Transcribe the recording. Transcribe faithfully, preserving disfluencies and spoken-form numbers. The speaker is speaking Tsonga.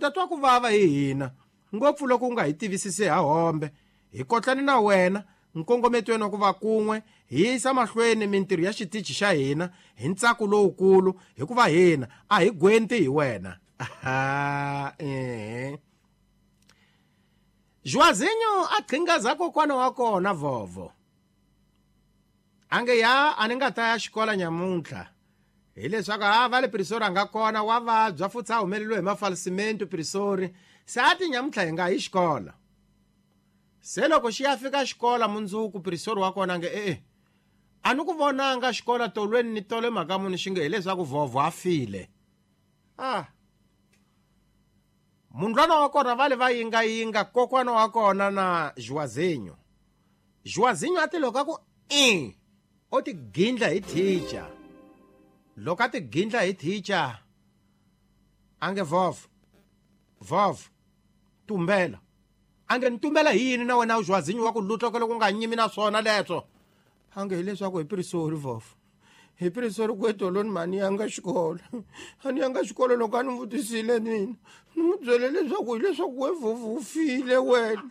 ta twa ku vava hi hina ngopfu loko u nga hi tivisisi ha hombe hi kotlani na wena nkongometweni wa ku va kun'we hi yisa mahlweni mintirho ya xitichi xa hina hi ntsako lowukulu hikuva hina a hi gwenti hi wena. Aha, ehe. Joazinho a qhingaza kokwana wa kona vovo ange ya a ni nga ta ya xikola nyamuntlha hileswaku a va le Prisori a nga kona wa vabya futhi a humeleliwe hi mafalisimento Prisori se a ti nyamuntlha hi nga yi xikola. Se loko xi ya fika xikola mundzuku Prisori wa kona nge e-e a ni ku vonanga xikola tolweni ni tole mhaka muni xi nge hileswaku vovo a file. Ah mundlwana wa kona va le va yingayinga kokwana wa kona na Joazinho. Joazinho a ti loko a ku i o ti gindla hi teacher. Loko a ti gindla hi teacher a nge vovo vovo tumbela. A nge ni tumbela hi yini na wena Joazinho wa ku lutla loko u nga nyimi na swona leswo. A nge hileswaku hi Prisori vovo hi Prisori ku etolweni mhani yanga xikolo a ni yanga xikolo loko a ni vutisile mina ni n'wi byele leswaku hileswaku we vovo u file wena.